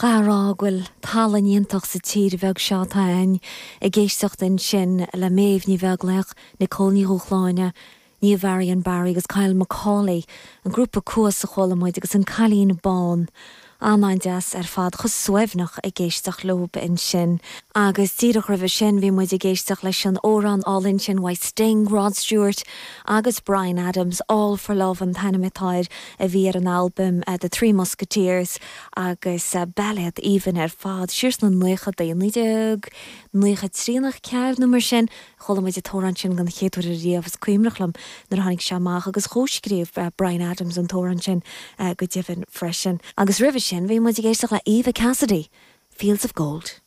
Chaithfeá a rá go bhfuil tallann iontach sa tír bheag seo atá againn. Ag éisteacht ansin le Méabh Ní Bheaglaoich, Nicole Ní Dhúshláine, Niamh Varian Barry agus Kyle Macaulay, an grúpa Cuas a chuala muid agus An Cailín Bán. An-an-deas ar fad, chomh suaimhneach ag éisteacht leob ansin. Agus díreach roimhe sin bhí muid ag éisteacht leis an amhrán álainn sin uaidh Sting, Rod Stewart agus Bryan Adams, All For Love an t-ainm atá air, a bhí ar an albam The Three Musketeers agus bailéad aoibhinn ar fad, siar sna naochadaí, 1993 nó 4 nó mar sin. Chuala muid an t-amhrán sin den chéad uair ariamh, is cuimhneach liom nuair a tháinig sé amach agus chomhscríobh Bryan Adams an t-amhrán sin go deimhin freisin. Agus roimhe sin bhí muid ag éisteacht le Eva Cassidy, Fields of Gold.